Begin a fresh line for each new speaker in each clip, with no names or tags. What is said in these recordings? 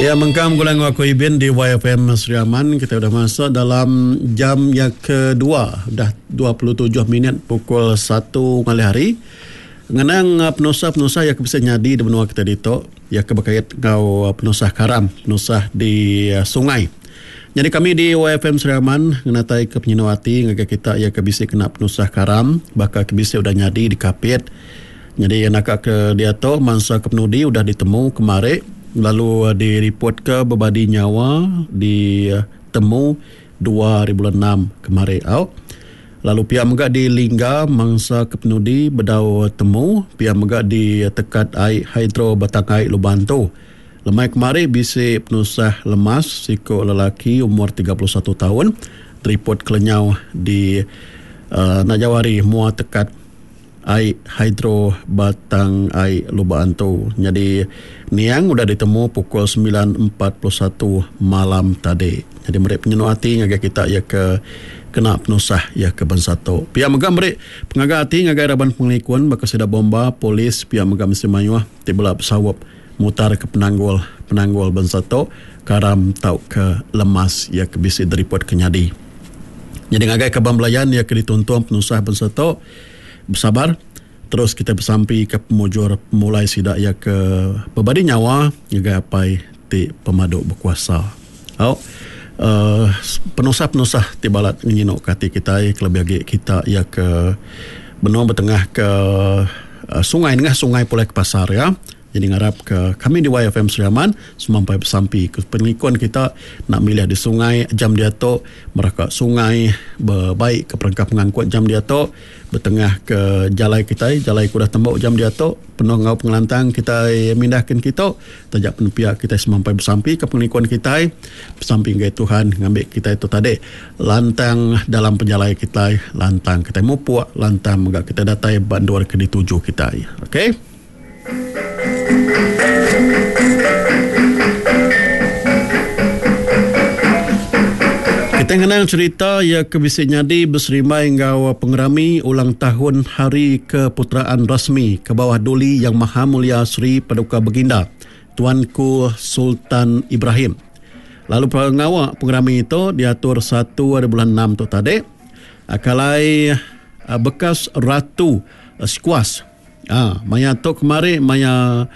Iya mengkang begulai enggau aku Ibin di YFM Sri Aman. Kita udah masuk dalam jam yang kedua udah 27 minit pukul 1 ngalih hari. Ngenang penusah-penusah yang ke bisi nyadi di menua kita ditu iya ke bekait enggau penusah karam, penusah di sungai. Nyadi kami di YFM Sri Aman ngenatai ke penyinu ati ngagai kita iya ke bisi kena penusah karam baka ke bisi udah nyadi di Kapit. Nyadi naka ke diatu mansa ke penudi udah ditemu kemari lalu diripotka bebadi nyawa ditemu 2006 kemari au. Lalu pia mega di Lingga mansa ke penudi bedau temu pia mega di tekat ai hidro Batang Ai Lubang Antu. Lemai kemari bisi penusah lemas siku lelaki umur 31 taun diripot kelenyau di enda jauh ari mua tekat Ai hidro Batang Ai Lubok Antu nyadi niang udah ditemu pukul 9:41 malam tadi. Nyadi meri penyenu ati ngagai kita iya ke kena penusah iya ke bansa tu. Pia mega meri pengaga ati ngagai raban pengelikun baka sida bomba, polis pia mega mesti mayuh ti bela besaup mutarka penanggul penanggul bansa tu karam tauka lemas iya ke bisi diripotka nyadi. Nyadi ngagai kaban belayan iya ke dituntung penusah bansa tu besabar terus kitai besampi ke pemujur pemulai sida iya ke bebadi nyawa ngagai Apai ti pemadu bekuasa. Au uhh penusah-penusah ti balat ngenyinu ke ati kitai kelebih agi kita iya ke benung betengah ke sungai nengah sungai pulai ke pasar iya. Jadi ngarap ke kami di YFM Sri Aman semampai besampi ke pengelikun kita enda milih di sungai jam diatu meraka sungai bebaik ke perengka pengangkut jam diatu betengah ke jalai kitai jalai ke udah tembu jam diatu penuh enggau pengelantang kitai mindah kin kitu taja pen pia kitai semampai besampi ke pengelikun kitai besampi ngagai Tuhan ngambi kitai tu tadi lantang dalam pejalai kitai lantang kitai mupuk lantang mega kitai datai ba endur ke dituju kitai okay. Kitai ngenang cherita iya ke bisi nyadi beserimbai enggau pengerami ulang tahun Hari Keputeraan Rasmi ke bawah Duli Yang Maha Mulia Seri Paduka Baginda Tuanku Sultan Ibrahim. Lalu pengawa pengerami tu diatur satu ari bulan enam tu tadi kalai bekas Ratu Squash. Aa, maya tu kemari maya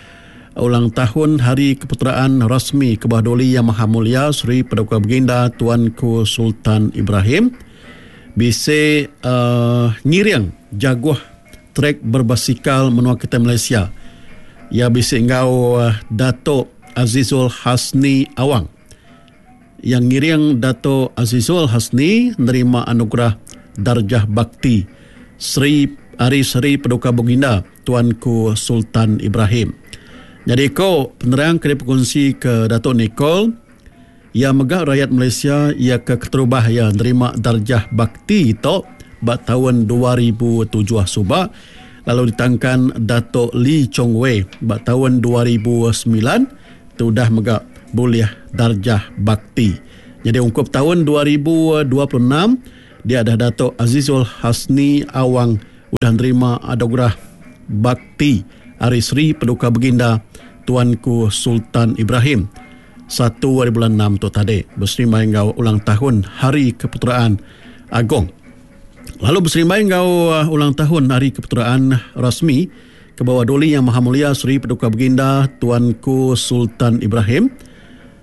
ulang tahun Hari Keputeraan Rasmi Kebawah Duli Yang Maha Mulia Seri Paduka Baginda Tuanku Sultan Ibrahim bisi uhh ngiring jaguh trek berbasikal menua kitai Malaysia. Iya bisi enggau Datuk Azizul Hasni Awang. Iya ngiring Datuk Azizul Hasni nerima anugerah Darjah Bakti Seri ari Seri Paduka Baginda Tuanku Sultan Ibrahim. Nyadi ko penerang ke dipekunsi ke Datuk Nicol, iya mega rayat Malaysia iya ke keterubah iya nerima Darjah Bakti tu ba taun 2007 suba lalu ditangkan Datuk Lee Chong Wei ba taun 2009. Tu udah mega bulih Darjah Bakti. Nyadi ungkup taun 2026, dia dah Datuk Azizul Hasni Awang udah nerima Anugerah Bakti ari Seri Paduka Baginda Tuanku Sultan Ibrahim satu ari bulan enam tu tadi beserimbai enggau ulang tahun Hari Keputeraan Agong. Lalu beserimbai enggau ulang tahun Hari Keputeraan Rasmi, Ke bawah Duli Yang Maha Mulia Seri Paduka Baginda Tuanku Sultan Ibrahim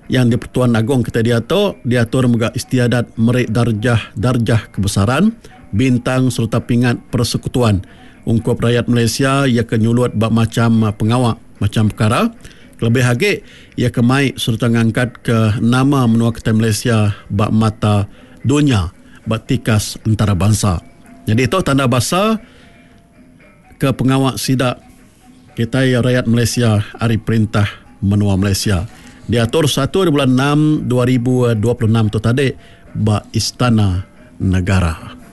Yang di-Pertuan Agong kitai diatu diatur mega istiadat meri darjah-darjah kebesaran, bintang sereta pingat persekutuan ungkup rayat Malaysia iya ke nyulut ba macham pengawa macham pekara kelebih agi iya ke mai sereta ngangkatka nama menua kitai Malaysia ba mata dunya ba tikas entarabansa. Nyadi tu tanda basa. ke pengawa sida kitai rayat Malaysia ari perintah menua Malaysia diatur satu ari bulan enam 2026 tu tadi ba Istana Negara.